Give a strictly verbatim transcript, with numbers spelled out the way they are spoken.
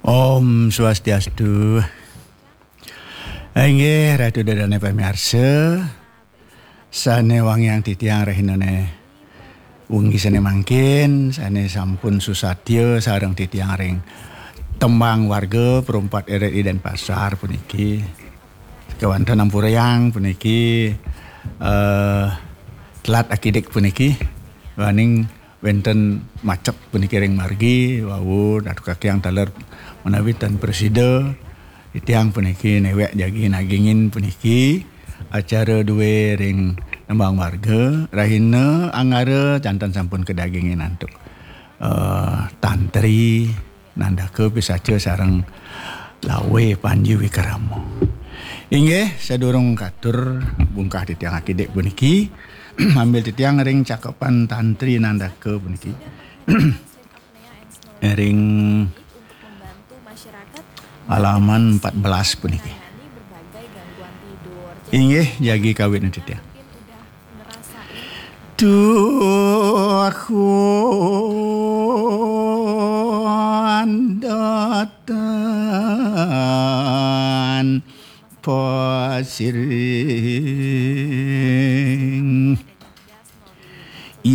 Om Swastiastu. Inggih, Ratu Dadane pamiarsa, sane wangiang titiang rahinane wengi sane mangkin, sane sampun susatya sareng titiang ring tembang warga Perumpat R R I Denpasar puniki. Kewanten ampurayang puniki, eh, telat akidik puniki, waning wenten macet puniki ring margi, wau, Ratu Kakiang taler menawi tan prasida, titiang puniki newek jagi nagingin puniki acara due ring nembang warga, rahina Anggara janten sampun kadagingin antuk, eh, tantri, nandaka pisacha sareng lawe Panji Wikrama. Inggih, sadurung katur bungkah titiang akidik puniki, ambil titiang ring cakepan tantri nandaka puniki. Ring halaman empat belas puniki. Inggih, jagi kawit titiang. Tuh, Tuhan datang pasir